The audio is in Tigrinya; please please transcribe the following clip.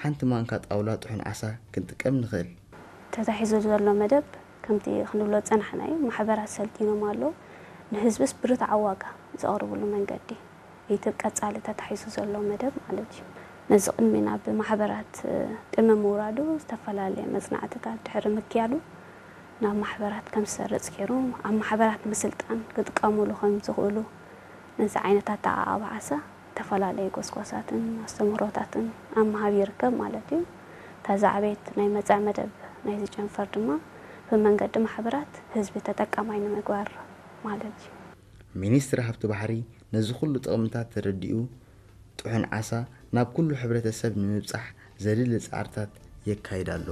ሓንቲ ማንካ ጣውላ ጥሑን ዓሳ ክንጥቀም ንኽእል። ተታሒዙ ዘሎ መደብ ከምቲ ክንብሎ ዝጸናሕናዮ ማሕበራት ሰልጢኖም ኣለዉ። ንህዝብስ ብርትዓዊ ዋጋ ዘቕርብሉ መንገዲ እቲ ቀጻሊ ተታሒዙ ዘሎ መደብ ማለት እዩ። ነዚ ቅድሚ ናብ ማሕበራት ቅድሚ ምውራዱ ዝተፈላለየ መጽናዕትታት ድሕሪ ምክያዱ ናብ ማሕበራት ከም ዝሰርጽ ገይሩ ኣብ ማሕበራት ምስልጣን ክጥቀሙሉ ከም ዝኽእሉ ነዚ ዓይነት ኣተዓባብዓ ዓሳ ዝተፈላለዩ ጎስጓሳትን ኣስተምህሮታትን ኣብ ምሃብ ይርከብ ማለት እዩ። እታ ዝዓበየት ናይ መጻኢ መደብ ናይዚ ጨንፈር ድማ ብመንገዲ ማሕበራት ህዝቢ ተጠቃማይ ንምግባር ማለት እዩ። ሚኒስትሪ ሃብቲ ባሕሪ ነዚ ኩሉ ጥቕምታት ተረዲኡ ጥሑን ዓሳ ናብ ኩሉ ሕብረተሰብ ንምብጻሕ ዘድሊ ጻዕርታት የካይድ ኣሎ።